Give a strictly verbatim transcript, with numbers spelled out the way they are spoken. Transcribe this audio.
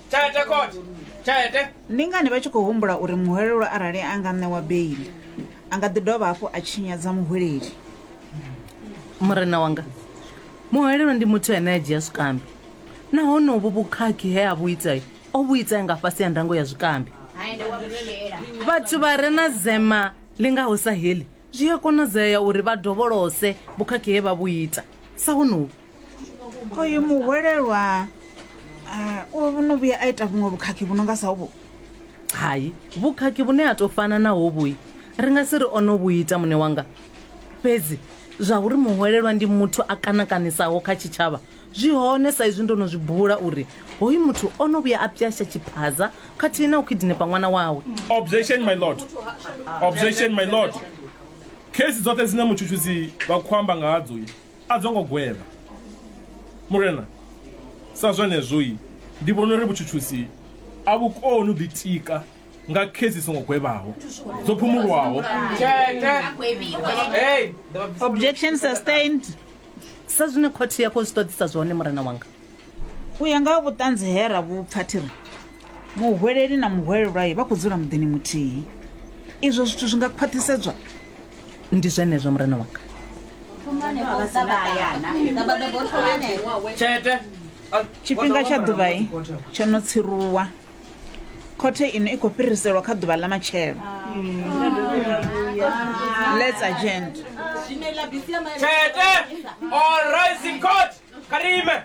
Tshete court. Tshete. Ndi ngani vha tshi khou humbula uri muhwelelwa arali a nga ṋewa beiḽi a nga ḓi dovha hafhu a tshinyadza muhweleli? Murena wanga, muhwelelwa ndi muthu ane a dzhia zwikambi, nahone uvhu vhukhakhi he a vhu ita o vhu ita nga fhasi ha ndango ya zwikambi. Vhathu vha re na zema ḽi ngaho sa heḽi zwi a konadzea uri vha dovholose vhukhakhi he vha vhu ita sa honovhu. Oyu muhwelelwa o no vhuya a ita vhuṅwe vhukhakhi vhu no nga sa uvhu? Hai, vhukhakhi vhune ha tou fana na hovhu ri nga si ri o no vhu ita muṋe wanga. Fhedzi zwa uri muhwelelwa ndi muthu a kanakanisaho kha tshitshavha zwi hone, sa izwi ndo no zwi bula uri hoyu muthu o no vhuya a pwasha tshiphaza khathihi na u kidnapa ṅwana wawe. Objection my lord. Objection my lord. Khesi dzoṱhe dzine mutshutshisi vha khou amba nga hadzo a dzo ngo gwevha. Murena, sa zwenezwo ndi vhona uri vhutshutshisi a vhu koni u ḓitika nga khesi songo gwevhaho dzo phumulwaho. Hey. Objection sustained. Sa zwine khothe ya khou zwi ṱoḓisa zwone murena wanga. U ya nga vhuṱanzi he ra vhu pfa thiri muhweleli na muhwelelwa vha khou dzula muḓini muthihi. Izwo zwithu zwi nga khwaṱhisedzwa? Ndi zwenezwo murena wanga. Tshete. Tshifhinga tsha ḓuvha tsho no tsiruwa. Khothe ino i khou fhiriselwa kha ḓuvha ḽa matshelo. Let's adjourn. Tshete. All rise in court. Karime.